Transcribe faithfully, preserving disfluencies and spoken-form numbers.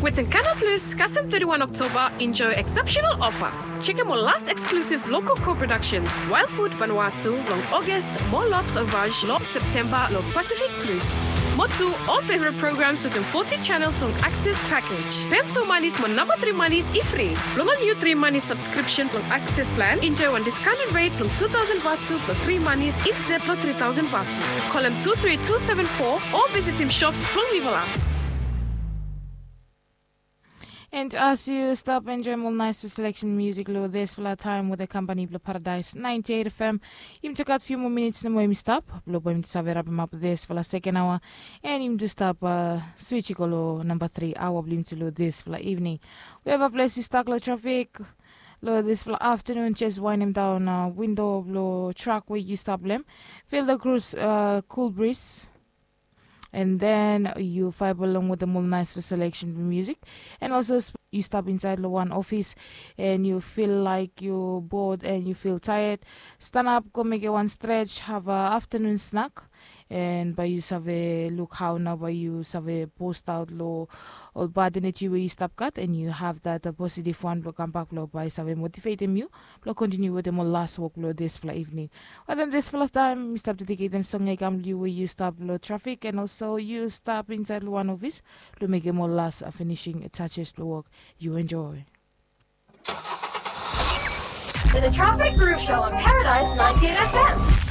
Wetin Canal Plus kasem thirty-one October enjoy exceptional offer. Chekem ol last exclusive local co-productions, Wild Food Vanuatu long August, mo L'Autre Vache long September long Pacific Plus. Mo tu ol favorite programs wetem forty channels long Access package. Pem tu manis mo namba tri manis i fri. Blong ol niu tri manis subscription blong Access plan, enjoy wan discounted rate blong two thousand vatu blong tri manis instead blong three thousand vatu. Kolem two three two seven four o visitim shops blong Livela. And as yu stap enjoem ol naes selection musik long disfala taem wetem kampani blong Paradise ninety-eight F M, yumi gat few moa minits nomo yumi stap blong bae yumi save rapemap disfala seken aoa. And yumi stap switch i go long namba tri aoa blong yumi long disfala evening. Wherever ples yu stak long trafik long disfala aftanun, jes waenem daon windo blong trak we yu stap long hem. Feel the cruise, cool breeze. And then yu vaeb along wetem ol naes selection musik. And also yu stap insaed long wan ofis and yu feel laek yu bod and yu feel taed, stanap go mekem wan stretch, have a aftanun snak. And bae yu save luk hao nao bae yu save bost aot long ol bad eneji we yu stap gat and yu have that positive wan blong kambak blong bae save motivetem yu blong kontiniu wetem ol las wok blong disfala evening. Wetem disfala taem mi stap dediketem song ya i kam long yu we yu stap long trafik and also yu stap insaed long wan ofis blong mekem ol las finishing touches blong wok. Yu enjoy. The Traffic Groove Show on Paradise ninety-eight F M.